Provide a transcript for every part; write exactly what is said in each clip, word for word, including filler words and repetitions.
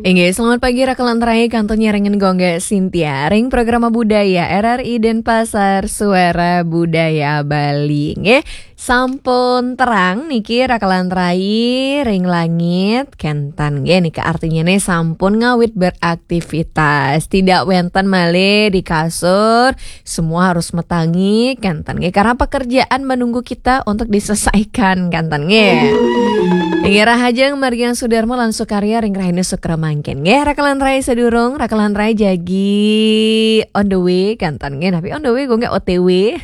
Inggih, selamat pagi Raka lan Rai, kantun nyarengin Gung Sintia ring Programa Budaya R R I Denpasar, Suara Budaya Bali. Nggih, sampun terang niki Raka lan Rai ring langit, kenten nggih, nika artinya nih sampun ngawit beraktivitas. Tidak wenten malih di kasur, semua harus matangi, kenten nggih, karena pekerjaan menunggu kita untuk diselesaikan, kenten nggih. Inggih, rahajeng margiang Sudarma lan Sukarya ring rahina Sukra mangkin nggih. Raka lan Rai sadurung, Raka lan Rai jagi on the way, kenten nggih. Napi on the way, Gung nggih O T W.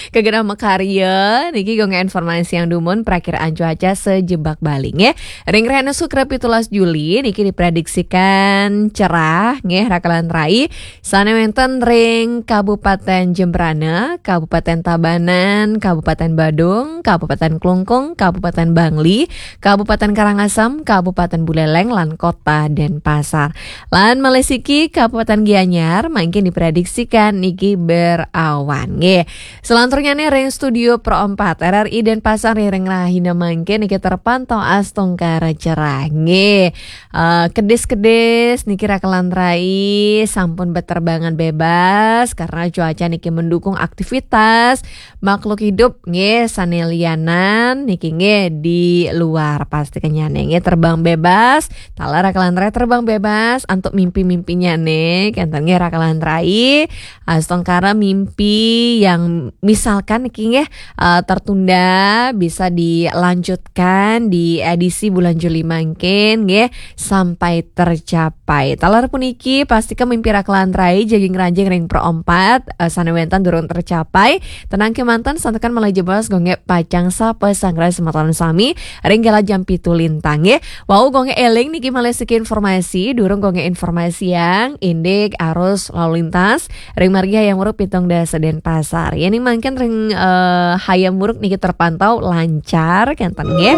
Kegenah makarya, niki Gung nggih informasi yang dumun prakiraan cuaca sejebak Bali nggih. Ring rahina Sukra pitulas Juli niki diprediksikan cerah nggih, Raka lan Rai. Sane wenten ring Kabupaten Jembrana, Kabupaten Tabanan, Kabupaten Badung, Kabupaten Klungkung, Kabupaten Bangli, Kabupaten Karangasem, Kabupaten Buleleng, lan Kota Denpasar. Lan malih siki Kabupaten Gianyar mangkin diprediksikan niki berawan. Nggih. Selanturnya nih ring studio Pro empat R R I Denpasar ring rahina mangkin niki terpantau astungkara cerah. Nggih. Eh, kedis-kedis niki Raka lan Rai sampun beterbangan bebas karena cuaca niki mendukung aktivitas makhluk hidup nggih sane lianan niki nggih di luar, pasti kenyane nggih terbang bebas. Taler Raka lan Rai terbang bebas antuk mimpi-mimpinya nih, kenten nggih Raka lan Rai. Astungkara mimpi yang misalkan niki nggih eh, tertunda bisa dilanjutkan di edisi bulan Juli mangkin nggih sampai tercapai. Taler puniki pastika mimpi Raka lan Rai jagi ngranjing ring Pro empat, eh, sane wenten durung tercapai. Tenang kemanten, santukan malih jebos Gung nggih pacang sapa sanggra semeton sami ring galah jam pitu lintang nggih. Wau Gung nggih eling niki malih siki informasi, durung Gung nggih informasi yang indik arus lalu lintas ring margi Hayam Wuruk pitung dasa Denpasar. Yening mangkin ring eh, Hayam Wuruk niki terpantau lancar, kenten nggih.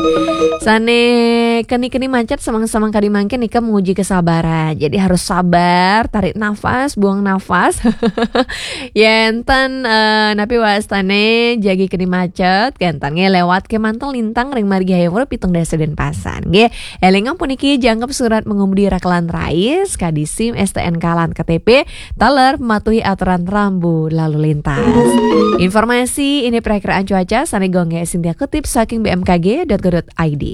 Sane keni-keni macet semeng-semeng kadi mangkin nika menguji kesabaran. Jadi harus sabar, tarik nafas, buang nafas. Yenten eh, napi wastane jagi keni macet, kenten nggih lewat kemanten lintang ring margi Hayam Wuruk pitung dasa Denpasar. Nggih, elingang puniki jangkep surat mengemudi Raka lan Rai, kadi SIM, S T N K lan K T P, taler mematuhi aturan rambu lalu lintas. Informasi ini perakiraan cuaca sane Gung nggih Sintia kutip saking B M K G dot go dot I D.